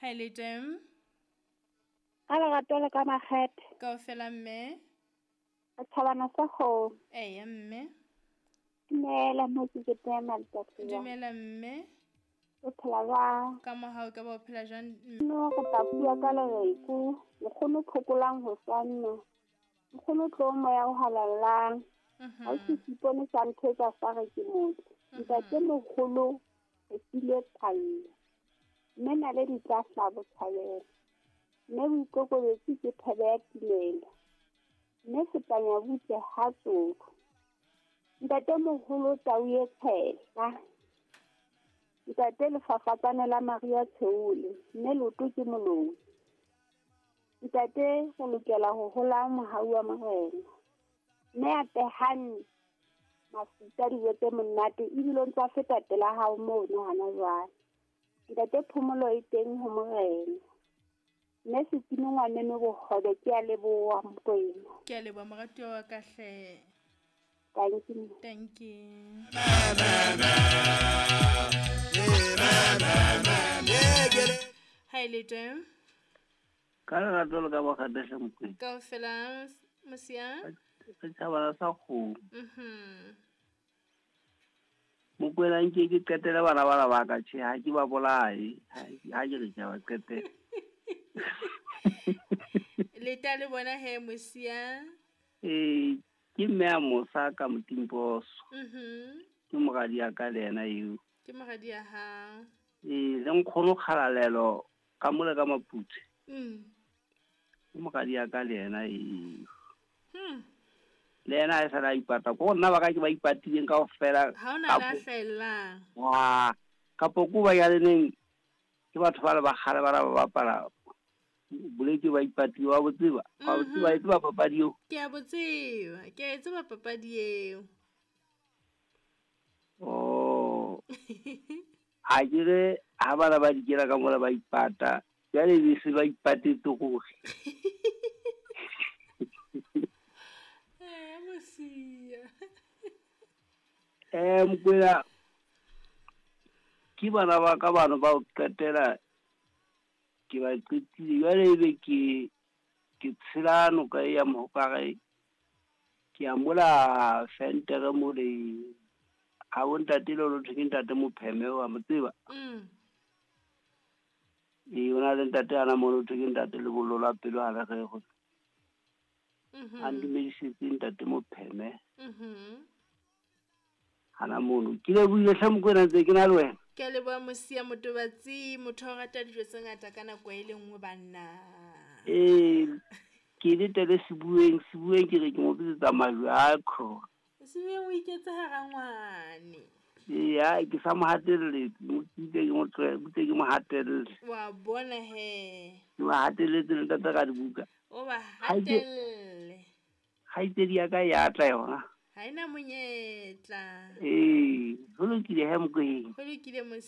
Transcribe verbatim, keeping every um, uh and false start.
Ha e le teng. Ka lerato le ka makgethe. Kaofela mme. Re thabana sa kgomo. Eya mme. Dumela mo ke ke tema letsatsi. Dumela mme. O phela jwang? Ka mohau ka ba o phela jwang? No re tla bua ka lereko. Nkgono phokolang ho sanna. Nkgono tlo moya o halalelang. Ha o se sipone sa nthetsa sa re ke motho. Ntate moholo re file phallo. Mme naledi tla hlaha botjhabela. Mme boikokobetso ke thebe ya timelo. Mme setanya butle ha tsoko. Ntate moholo tau e tshehla. Ntate lefafatsane la Maria Tsheole. Mme loto ke moloi. Ntate re lokela ho hola mohau wa morena. Mme a tehane mafuta dijo tse monate ebile o ntse a feta pela hao mono hana jwale. Ntate phomolo e teng ho morena. Mme Setimo ngwaneno bohobe ke a leboha Mokwena. Ke a leboha moratuwa wa ka hle. Thank you. Thank you. Ha e le teng. Ka lerato le ka makgethe Mokwena. Kaofela mosia. Re thabana sa kgomo. Mhm. Mokwena nke ke qetele bana bana ba ka tjhe ha ke ba bolae. Ha ke re ke ba qetele. Le ta le bona he mosia. Eh ke mme a mosa ka motimposo. Mhm. Ke moradi ya ka le yena eo. Ke moradi ya hao. Eh le nkgono kgalalelo ka mole ka Maputse. Mm. Ke moradi ya ka le yena eo. Hmm. Le yena ha e sala ipata ko nna ba ka ke ba ipatileng kaofela. Ha ona la hlaellang. Wa kapo ko ba ya leneng ke batho ba le ba kgale ba ba bapala boleke ba ipatile wa botseba. Wa botseba e tseba papadi eo. Ke a botseba, ke a e tseba papadi eo. Oh. Ha ke re ha bana ba dikela ka mola ba ipata. Jwale be se ba ipatetse hore. Eh mosia. Eh Mokwena ke bana ba ka bana ba o qetela ke ba qetile jwale ebe ke ke tshela noka ya Mohokare ke a mola fentere mole ha bo ntate le lotho ke ntate Mopheme wa mo tseba. Mm. E ona le ntate ana mo lotho ke ntate le bollo la pelo ha re re go. Mhm. A ndumedisitse ntate Mopheme. Mhm. Hana mono ke le buile hle Mokwena ntse ke na le wena. Ke a leboha mosia motobatsi motho o rata dijo tse ngata ka nako e le nngwe banna. Eh ke le tele sebueng sebueng ke re ke mo bitsetsa majwe a kho. Sebueng o iketse hara ngwane. Eh ha ke sa mo hatelle mo tsitse ke mo tlohe butse ke mo hatelle. Wa bona he. Ke mo hatelletse le ntate ka dibuka. O ba hatelle. Kgaitsedi ya ka ya tla yona. Ha ena monyetla. Eh, ho lokile he Mokwena. Ho lokile.